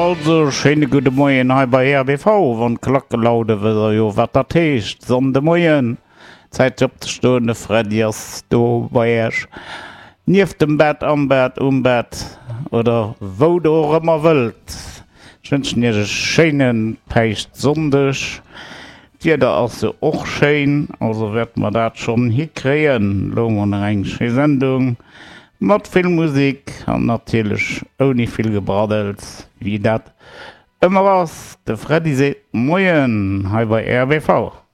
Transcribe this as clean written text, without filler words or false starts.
Also, schéine gudde Moien hei bei RBV. Wann d'Klacke laude wësst der jo wat dat heescht. Sonndemoien, Zäit fir opzestoen, de Freddy ass do bei Äech. Nieft dem Bett, am Bett, um Bett oder wou der och ëmmer wëllt. Ech wënschen Iech e schéine Päischtsonndeg. D'Wieder ass jo och schéin, also wäerte mer dat schonn hikréien. Elo hu mer nach eng schéi Sendung mat vill Musek an natierlech ouni vill Gebraddels, wéi dat ëmmer ass. De Freddy seet Moien hei bei RBV.